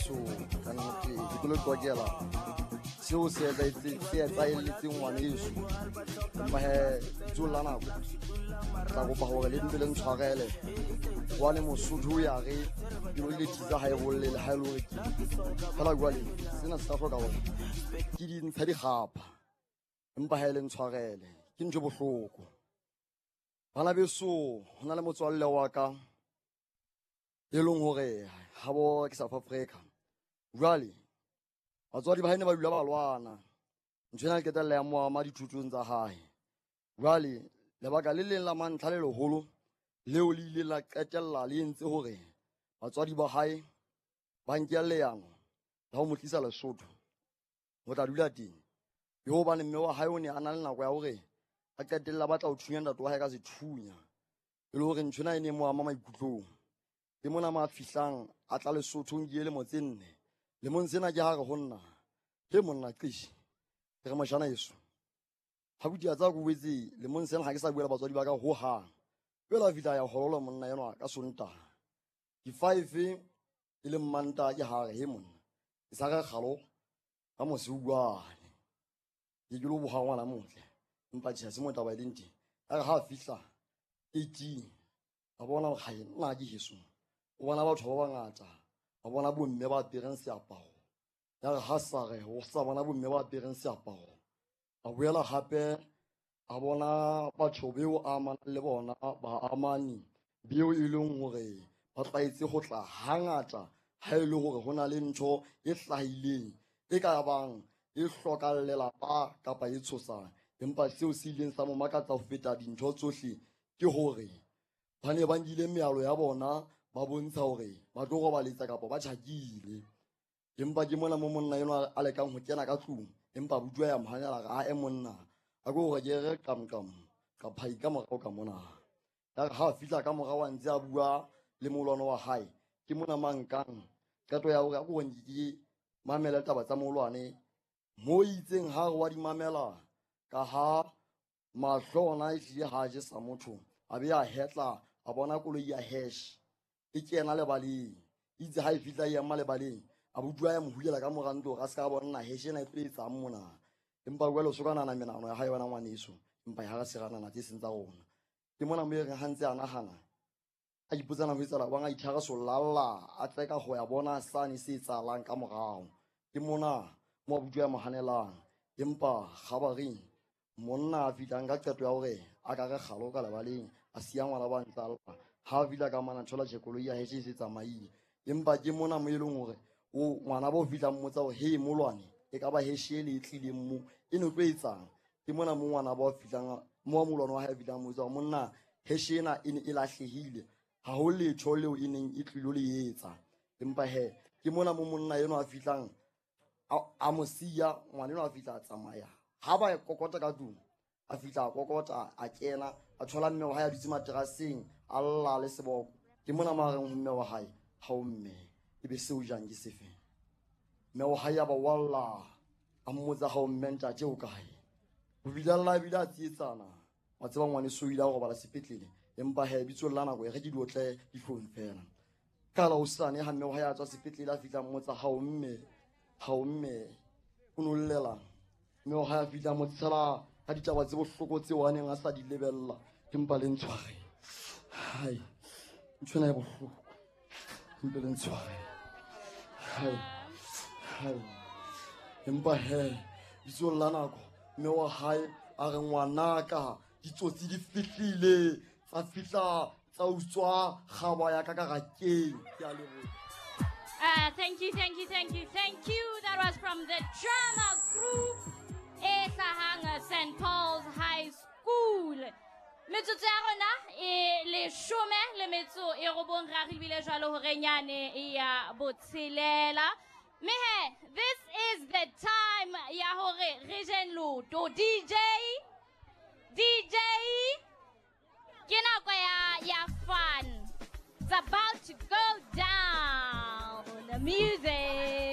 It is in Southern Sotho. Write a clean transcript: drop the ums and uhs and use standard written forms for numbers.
beso, ka nnete ke tlo le qoqela seo se etsahelletseng ngwaneso. Empa he bitsong la nako tla kopa hore le mpe le ntshwarele hobane Mosotho o ya re pelo le thiza ha e bolle le ha e le hore ke fela. Jwale sena se tla hloka hore ke di ntshe dikgapha, empa ha e le ntshwarele ke ntho e bohloko. Bana beso, ho na le motswalle wa ka e leng hore habo ke South Africa. Jwale batswadi ba hae ne ba dula ba lwana, ntho ena e qetella ya mo ama dithutong tsa hae. Jwale lebaka le leng la mantlha le leholo leo le ile la qetella le entse hore batswadi ba hae ba nke leano la ho mo tlisa Lesotho ho tla dula teng, ke hobane mme wa hae o ne a na le nako ya hore a qetella batla ho thunya ntate wa hae ka sethunya, e le hore ntho ena e ne mo ama maikutlong. Ke mona mo a fihlang a tla Lesotho nke lemo tse 4. Lemong sena ke ha re ho nna, he monna qishi, ke re mojana eso. Ha buti a tsa ko boetse lemong sena ha ke sa bua le batswadi ba ka ho hang. Pela fihla ya hololo monna enwa ka Sontaha. Di 5 e leng Mantaha ke ha re he monna. Ke sa re kgalo ka mosiuwane. Ke ke lo boha ngwana motle. Empa tjhe se mo taba e leng teng. A re ha fihla 18 a bona hore hae nna ke heso. O bona batho ba bangata, ba bona bomme ba apereng seaparo. Ya re ha sa re o sa bona bomme ba apereng seaparo, a boela hape a bona batho beo a amanang le bona ba amani beo e leng hore ba tlwaetse ho tla hangata ha e le hore ho na le ntho e hlahileng e ka bang e hlokang lelapa kapa e tshosang. Empa seo se ileng sa mo makatsa ho feta dintho tsohle ke hore ba ne ba nkile mealo ya bona ba bontsha hore ba tlo robaletsa kapa ba tjhakile. Empa ke mona mo monna enwa a lekang ho kena ka tlung, empa abuti ya mo hanela re ae monna a ko hore ke re qamqam ka phai ka morao ka mona. Ya re ha fihla ka morao a ntse a bua le molwana wa hae, ke mona mankang qeto ya hore a ko ke mamela taba tsa molwane mo itseng ha re wa di mamela ka ha mahlo ona e hlile ha je sa motho, a be a hetla a bona koloi ya hash e kena lebaleng. Itse ha e fihla e ema lebaleng, a bua ya mo hulela ka mora ntlo hore a se ka bona hash ena e tlo etsang mona. Empa jwale o so ka nahana menahano ya hae wena ngwaneso, empa ha re se ra nahana tse seng tsa rona. Ke mona mo e reng ha ntse a nahana a ipotsana ho etsahala bang, a ithara solalla a tseka ho ya bona sane se etsahalang ka morao. Ke mona mo abuti ya mo hanelang, empa kgabareng monna a fihlang ka qeto ya hore a ka re kgalo ka lebaleng, a siya ngwana ba ntse a lla. Ha a fihla ka mona thola tjhe koloi ya hae e se tsamaile. Empa ke mona mo e leng hore o ngwana ba o fihlang mmotsa hore he molwane e ka ba heshe le e tlileng mo e ne tlo etsang. Ke mona mo ngwana ba o fihlang mo molwane wa hae a fihlang mmotsa hore monna heshe ena e ne e lahlehile, ha ho letho leo e neng e tlilo le etsa. Empa he ke mona mo monna enwa a fihlang a mo siya, ngwana enwa a fihla a tsamaya. Ha ba kokota ka tlung, a fihla a kokota a kena a thola mme wa hae a dutse materaseng a lla le seboko. Ke mona mo a reng ho mme wa hae, ha o mme e be seo jang ke sefe? Mme wa hae a ba walla a mmotsa ha o mme ntate o kae? O bile a lla ebile a tsietsana. Wa tseba ngwaneso o ile a robala sepetlele, empa he bitsong la nako e re ke diotle dihlong fela. Ka la hosane ha mme wa hae a tswa sepetlele a fihla mmotsa ha o mme, ha o mme o no llelang? Mme wa hae a fihla mo tshela ka ditaba tse bohloko tseo a neng a sa di lebella, empa le ntshware. Hai, ntho ena e bohloko, empa le ntshware. Hai, hai. Empa he bitsong la nako mme wa hae a re ngwanaka ditsotsi di fihlile, tsa fihla tsa utswa kgaba ya ka ka rakeng. Ke a leboha. Thank you, thank you, thank you, thank you. That was from the drama group e hlahang St. Paul's High School. Metsotso ya rona e 19 ra re bile jwalo hore nyane ya botshelela. Mme he, this is the time ya hore re jeng loto. DJ, DJ, ke nako ya fun. It's about to go down. The music.